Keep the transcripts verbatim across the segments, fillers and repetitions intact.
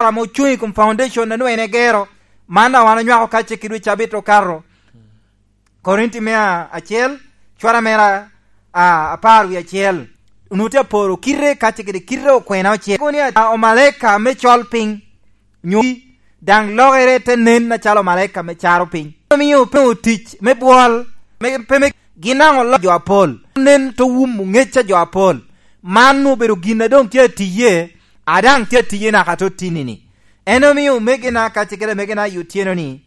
ame ocuŋ i kom foundation a nwoŋo en egero. Man daŋ wan onywako kacce kede wi cabit okato. Korinti me acel, cwara mere a, a, apar wie acel. Onwoŋo tye aporo kite kacce kede kite okwena ocel. Kono ni a, omalaika me col piny, nyo daŋ lokere te nen acalo omalaika me caro piny. Omio pe otic me bwol, me, pe me, gin daŋ oloko jo apol. Nen te wumo ŋec a jo apol. Man obedo gin a doŋ tye atiye, a daŋ tye atiye naka tottinni-ni. En omio omegina kacce kede amegina i otyeno-ni,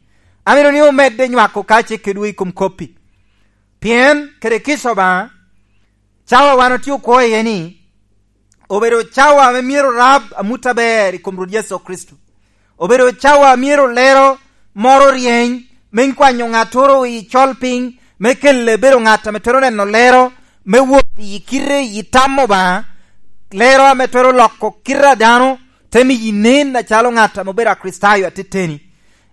amito ni omedde nywako kacce kedwu i kom kop-pi. Pien kede kica Obaŋa, cawa wan otye okwo iye-ni, obedo cawa ame myero orab amut aber i kom Rwot Yecu Kricito. Obedo cawa a myero lero moro ryeny me kwanyo ŋattoro i col piny, me kelle bedo ŋat ame twero neno lero, me wot i kite i tam Obaŋa, lero ame twero loko kite a dano, te miyi nen acalo ŋat ame obedo Akricitayo ateteni.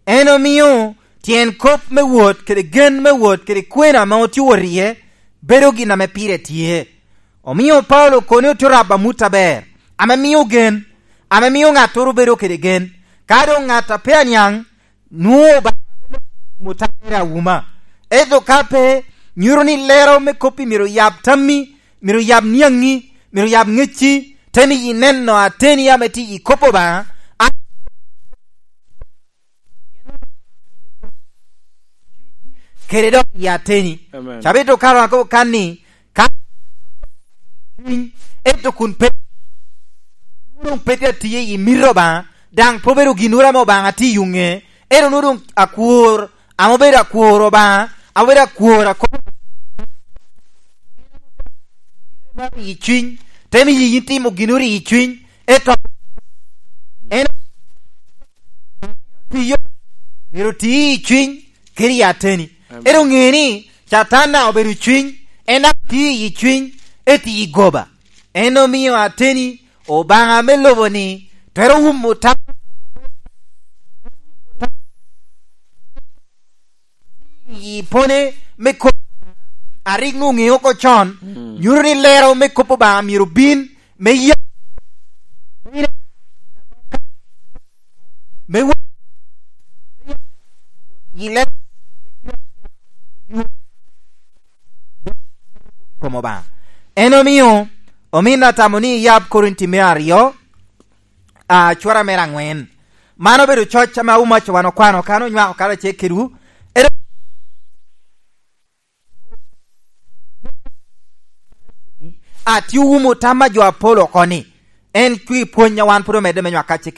En omio tyen kop me wot kede gen me wot kede kwena ame otye wot iye bedo gin ame pire tye. Omio Paulo kono ni otye rabo amut aber, ame mio gen, ame mio ŋattoro bedo kede gen. Ka doŋ ŋat a pe aniaŋ, nwoŋo Obaŋa muta mere awuma. Ento ka pe, nyuto ni lero me kop-pi myero yab tammi, myero yab niaŋi, myero yab ŋecci, te miyi neno ateni ame tye i kop Obaŋa, a kede dok i ateni. Amen. Cabit okato akobo kan ni, ka cwiny, ento kun pe, doŋ pe tye atiye i mito Obaŋa, daŋ pe obedo ginnoro ame Obaŋa tye i ŋe, ento nwoŋo doŋ akwor, ame obedo akwor Obaŋa, ame obedo akwor akobo i cwiny, te miyi yin timo ginnoro i cwiny, ento en tiyo, myero oti i cwiny kede i ateni. Amen. Ento ŋe ni Catan daŋ obedo i cwiny, en daŋ tye i cwiny, eti i goba. En omio ateni Obaŋa me lobo-ni twero wumo tam i pone me kop a rik nwoŋo ŋeo oko con, mm, nyuto ni lero me kop Obaŋa myero bin me ya, me wa-, i lero kom Obaŋa. En omio omin atamo ni iyab Korinti me aryo, a, cura mere aŋwen. Man obedo coc ame Aumac wan okwano kan onywako karacel kedwu. Ero-, atye owumo tam a jo apol oko ni, en tye pwony a wan pwod omedde me nywako kacce